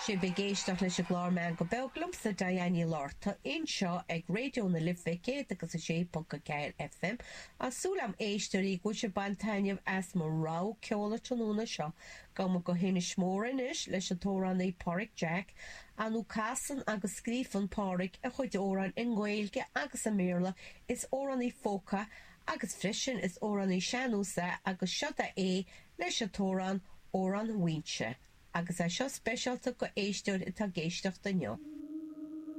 Sibh ag éisteacht leis an gclár Meangadh Beag liomsa, Diane Ní Fhlatharta, anseo ag Raidió na Life 106.4 FM. Tá súil agam éisteoirí go bhfuil sibh ag baint taitneamh as mo rogha ceoil an tráthnóna seo. Gabhfaidh muid go hInis Mór anois leis an t-amhránaí Páraic Jack. Ar ndóigh casann agus scríobhann Páraic a chuid amhrán i nGaeilge agus i mBéarla. Is amhránaí folk é agus freisin is amhránaí sean-nós é agus seod é leis an t-amhrán Amhrán Mhaínse. Agus é seo speisialta go éisteoir atá ag éisteacht inniu.